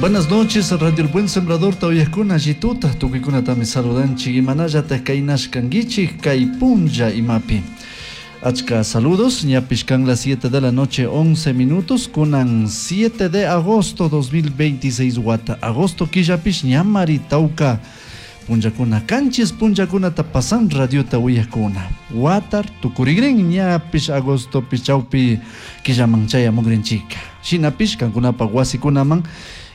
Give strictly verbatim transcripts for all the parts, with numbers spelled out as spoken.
Buenas noches, Radio El Buen Sembrador tawiyakuna allituta tukuykunatami saludanchik imanallataq kaynashkankichik kay punlla imapi. Achka saludos, ñapish kan las siete de la noche once minutos, kunan siete de agosto dos mil veintiséis wata. Agosto killapish ñamari tawka punllakuna kanchis punllakunata pasan radiota uyakuna. Watar tukurigrin ñapish agosto pichawpi killaman chayamugrinchika. Shinapish kankunapa wasikunaman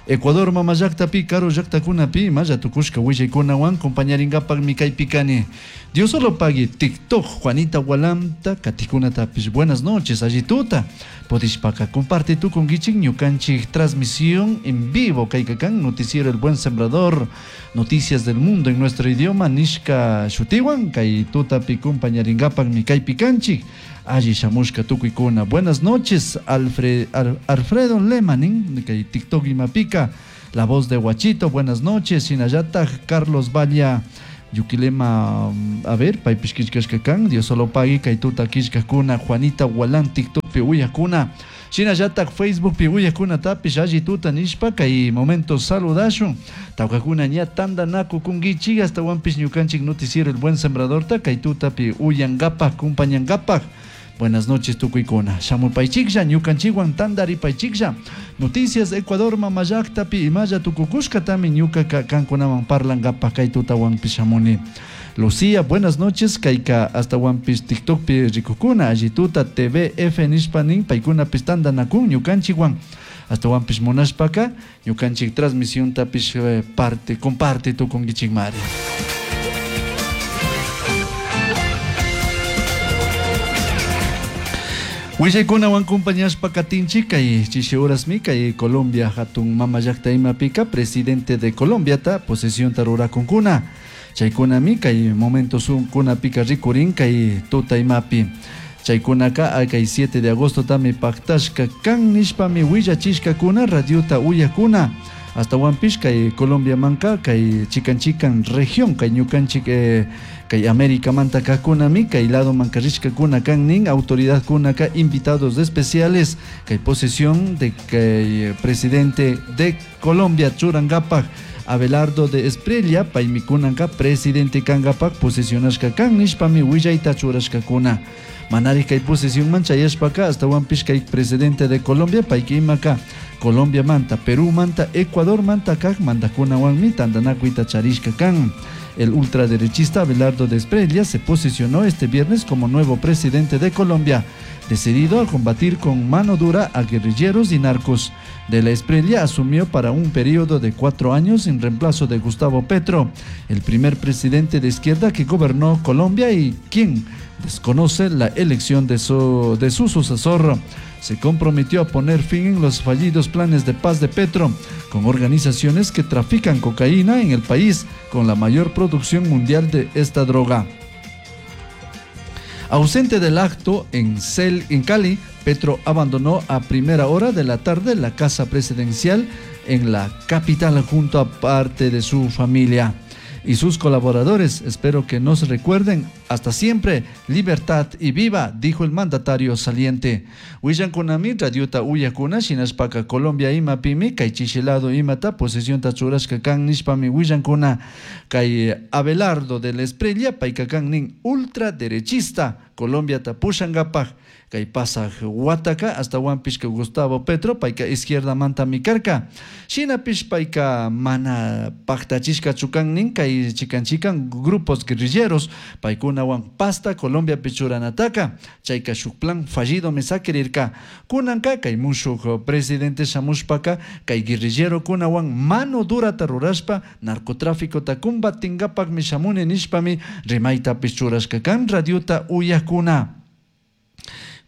Ecuador mama llaqtapi karu llaqtakunapi imalla tukushka willaykunawan compañaringapaqmi kaypi kani. Dios solo pague TikTok Juanita Walamta katikunatapish buenas noches allituta podishpaka comparte tukunkichik ñukanchik transmisión en vivo kaykakan noticiero El Buen Sembrador, noticias del mundo en nuestro idioma nishka shutiwan kay tutapi compañaringapaqmi kaypi kanchik. Alli shamushka tukuykuna. Buenas noches, Alfred, Al, Alfredo Lemanin, kay TikTok imapika, la voz de Guachito, buenas noches, Shinayata, Carlos Valla, Yuquilema, a ver, paypish killkashkakan, Dios solo pague, kay tuta killkakuna, Juanita Walán, TikTok pi uyakuna, Shinayata, Facebook pi uyakuna, tapish alli tuta nishpa, kay momento saludashun, tawkakuna ña tandanaku kunkichik, hasta wanpish ñukanchik noticiero El Buen Sembrador, ta kay tuta pi uyangapak, kumpañangapak. Buenas noches, tukuykuna. Shamupaychiklla, ñukanchikwan tandaripaychiklla. Noticias Ecuador mama llaqtapi imalla tukukushkatami ñuka kankunaman parlangapak kay tutawanpi shamuni. Lucía, buenas noches, kayka hasta wanpis TikTokpi rikukuna, allituta T V F nishpanin paykunapis tandanakun ñukanchikwan. Hasta wanpis munashpaka ñukanchik transmisión tapish parte, comparte tukunkichikmari. Willaykunawan compañashpa katinchik kay chishi horasmi kay Colombia hatun mama llaqta imapika presidente de Colombia ta posesión rurakunkuna. Chaykunami kay momento sunkunapika rikurin kay tuta imapi. Chaykunaka kay siete de agosto tami paktashka kan nishpami willachishkakuna radiota uyakuna. Hasta wanpish kay Colombia manka kay chikan chikan región kay ñukanchik eh, kay América manta kakunami kay lado manka rishkakuna kan nin autoridad kunaka invitados especiales kay posesión de kay presidente de Colombia churangapak Abelardo de Espriella paymikunanka presidente kangapak posesionashka kan nishpami willayta churashkakuna. Manari kay posesión manchayashpaka hasta wanpish kay presidente de Colombia paykimaka Colombia manta, Perú manta, Ecuador manta kak mandakunawanmi tandanakuyta charishka kan. El ultraderechista Abelardo de Espriella se posicionó este viernes como nuevo presidente de Colombia, decidido a combatir con mano dura a guerrilleros y narcos. De la Espriella asumió para un periodo de cuatro años en reemplazo de Gustavo Petro, el primer presidente de izquierda que gobernó Colombia y quien desconoce la elección de su, de su sucesor. Se comprometió a poner fin en los fallidos planes de paz de Petro, con organizaciones que trafican cocaína en el país, con la mayor producción mundial de esta droga. Ausente del acto en, Cel, en Cali, Petro abandonó a primera hora de la tarde la casa presidencial en la capital junto a parte de su familia y sus colaboradores. Espero que nos recuerden. Hasta siempre, libertad y viva, dijo el mandatario saliente. Willankunami, radiota uyakuna, shinashpaka Colombia imapimi, kay chishilado imata, posesión tachurashka kan nishpami willankuna, kay Abelardo de la Espriella, payka kan nin ultraderechista, Colombia tapushangapaj, kay pasaj wataka, hasta wampishka Gustavo Petro, payka izquierda manta mikarka. Shinapish payka mana paktachishka chukan nin, kay chikan chikan grupos guerrilleros, paykunawan pasta Colombia pichuranataka, chayka shuk plan fallido mesakirirka. Kunanka kay mushuk presidente shamushpaka, kay guerrillero kunawan mano dura rurashpa, narcotráfico ta combatingapak mishamuni nishpami rimayta pichurashka kan radiota uyakuna.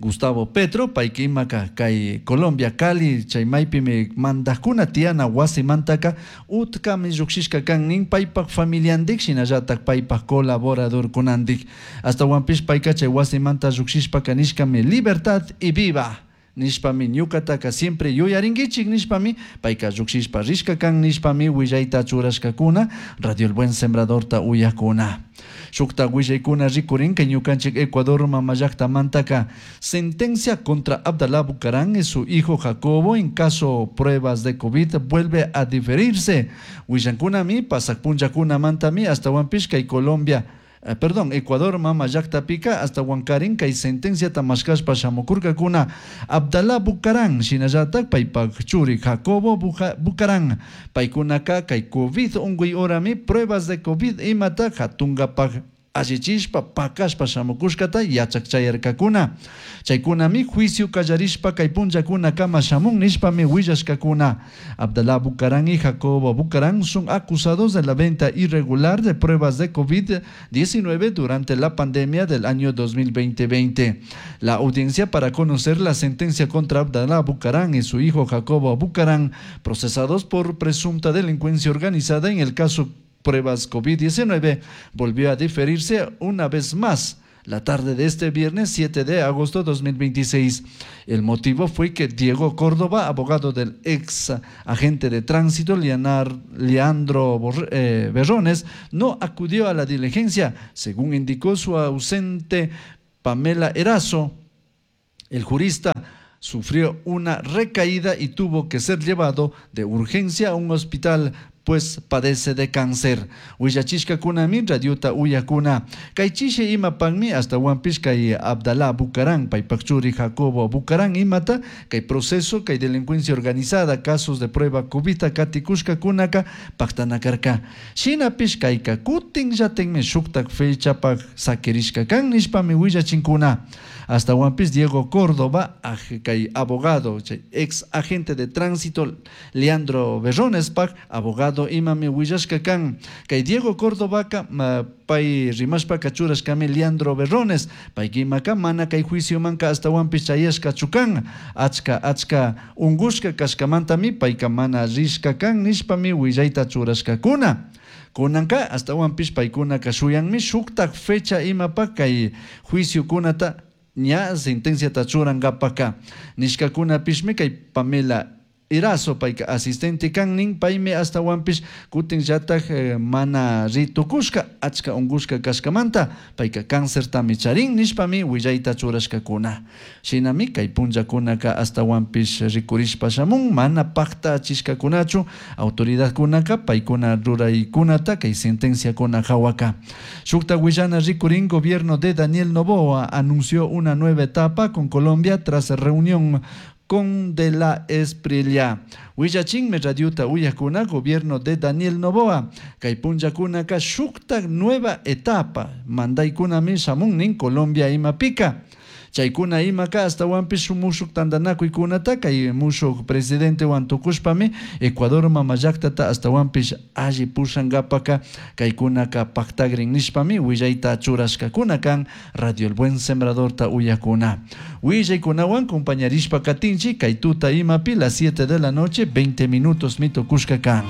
Gustavo Petro, paykimaka kay Colombia Cali, chay maypimi mandakuna tiana wasimantaka utkami llukshishka kan nin paypak familiandik shinallatak paypak colaboradorkunandik. Hasta wanpish payka chay wasimanta llukshishpaka nishkami libertad y viva. Nishpami ñukataka siempre yuyarinkichik nishpami payka llukshishpa rishka kan nishpami willayta churashkakuna Radio El Buen Sembradorta uyakuna. Shukta willaykuna rikurin kay ñukanchik Ecuador mamallaktamantaka sentencia contra Abdalá Bucaram y su hijo Jacobo en caso pruebas de COVID vuelve a diferirse. Willankunami pasak punllakunamantami ashtawanpish kay Colombia Eh, perdón, Ecuador mama llaktapika hasta Huancarín kay sentenciata mashkashpa shamukurkakuna Abdalá Bucaram shinallatak paypak churi Jacobo Bucaram paykunaka kay COVID unkuy horami pruebas de COVID imata hatunkapak allichishpa pakashpa shamukushkata yachak chayarkakuna chaykunami juicio kallarishpa kay punllakuna kama shamun nishpami willashkakuna. Abdalá Bucaram y Jacobo Bucaram son acusados de la venta irregular de pruebas de COVID diecinueve durante la pandemia del año dos mil veinte. La audiencia para conocer la sentencia contra Abdalá Bucaram y su hijo Jacobo Bucaram, procesados por presunta delincuencia organizada en el caso pruebas COVID diecinueve, volvió a diferirse una vez más la tarde de este viernes siete de agosto de dos mil veintiséis. El motivo fue que Diego Córdoba, abogado del ex agente de tránsito Leonar, Leandro Borre, eh, Berrones, no acudió a la diligencia, según indicó su ausente Pamela Erazo. El jurista sufrió una recaída y tuvo que ser llevado de urgencia a un hospital, pues padece de cáncer. Willachishkakunami radiota uyakuna. Kay chishe imapakmi hasta Huampish kay Abdalá Bucaram, paypak churi Jacobo Bucaram imata, kay proceso, kay delincuencia organizada, casos de prueba cubita katikushkakunaka paktanakarka. Shinapish kayka kutin llatenmi shuktak fechapak sakirishka kan nishpami willachinkuna. Hasta Huampish Diego Córdoba, aj-, kay abogado, chay ex agente de tránsito Leandro Berrones pak, abogado imami willashka kan. Kay Diego Córdoba ka, ma, pay rimashpa kachurashkami Leandro Berrones, pay kimaka mana kay juicio manka hasta Huampish chayashka chukan, achka achka ungushka kashkamantami payka mana rishka kan nishpami willayta churashkakuna. Kunanka hasta Huampish paykunaka shuyanmi shuktak fecha imapa kay juicio kunata ña sentencia tachurankapaka. Nishkakunapishmi kay Pamela Erazo payka asistente kannin paymi hasta Huampish kutin llatak, eh, mana ritukushka achka unkushka kashkamanta payka cáncertami charin nishpami willayta churashkakuna. Shinami kay punllakunaka hasta Huampish rikurishpa shamun mana paktachishkakunachu autoridadkunaka paykuna ruraykunata kay sentenciakuna hawaka. Shukta willana rikurin gobierno de Daniel Noboa anunció una nueva etapa con Colombia tras reunión con de la Espriella. Willachinme radiuta uyakuna, gobierno de Daniel Noboa. Kay punllakunaka shukta nueva etapa. Mandaykunami shamunnin Colombia imapika. Chaykuna imaka hasta Huampish mushuk tantanakuykunata kay mushuk presidente wantukushpami Ecuador mamallaktata hasta Huampish alli pushankapaka kaykunaka paktagrin nishpami willayta churashkakuna kan Radio El Buen Sembradorta uyakuna. Willaykunawan compañarishpa katinchi kay tuta imapi las siete de la noche veinte minutos mitukushka kan.